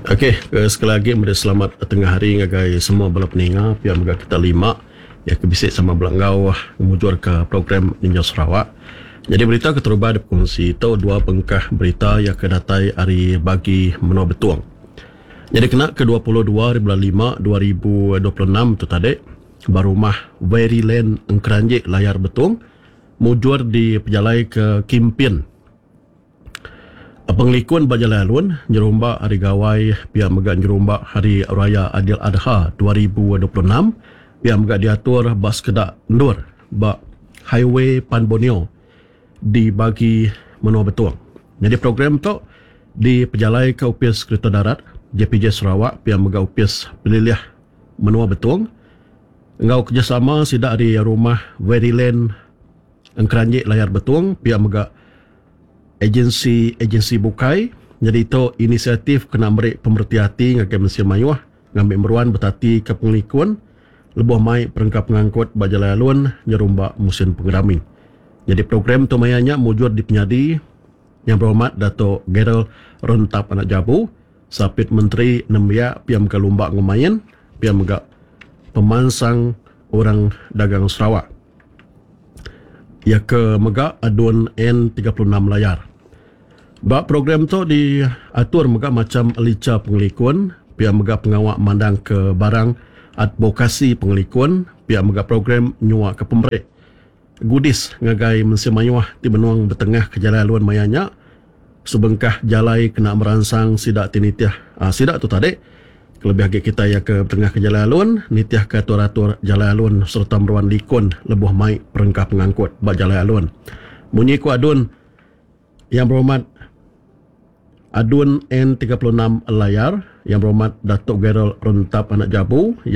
Ok, sekali agi meri selamat tengah hari ngagai semua bala peninga pia mega kita lima iya ke bisi sama bela enggau ngemujurka program Ninjau Sarawak. Nyadi berita keterubah dipekongsi tu dua bengkah berita iya ke datai ari bagi menua Betong. Nyadi kena ke 22 ari bulan lima 2026 tu tadi ba rumah Veryland Engkeranji Layar Betong mujur dipejalaika kimpin Pengelikun ba jalai alun nyerumba Hari Gawai pia mega nyerumba Hari Raya Adil Adha 2026 pia mega diatur ba sekeda endur ba Highway Pan Borneo di bagi menua Betong. Nyadi program tu dipejalaika Opis Kereta Darat, JPJ Sarawak pia mega Opis Pelilih Menua Betong enggau kerejasama sida ari Rumah Veryland Engkeranji Layar Betong pia mega Agensi-agensi bukai nyadi tu inisiatif kena meri pemereti ati ngagai mensia mayuh ngambi meruan betatika pengelikun lebuh mai perengka pengangkut ba jalai alun nyerumba musin pengerami. Nyadi program tu maya nya mujur dipenyadi Yang Berhormat Dato Gerald Rentap Anak Jabu, Sapit Menteri Nembiak Pia Mega Lumba enggau Main, Pia Mega Pemansang Orang Dagang Sarawak. Iya ke mega ADUN N 36 Layar. Ba program tu diatur mega macham licha pengelikun, pia mega pengawa mandangka barang advokasi pengelikun, pia mega program nyuaka pemeri goodies ngagai mensia mayuh ti benung betengahka jalai alun maya nya. Sebengkah jalai kena meransang sida ti nitih sida tu tadi kelebih agi kitai iya ke betengah ke jalai alun nitihka atur-atur jalai alun sereta meruan likun lebuh mai perengka pengangkut ba jalai alun. Munyi ku ADUN Yang Berhormat ADUN N 36 Layar Yang Berhormat Datuk Gerald Rentap Anak Jabu.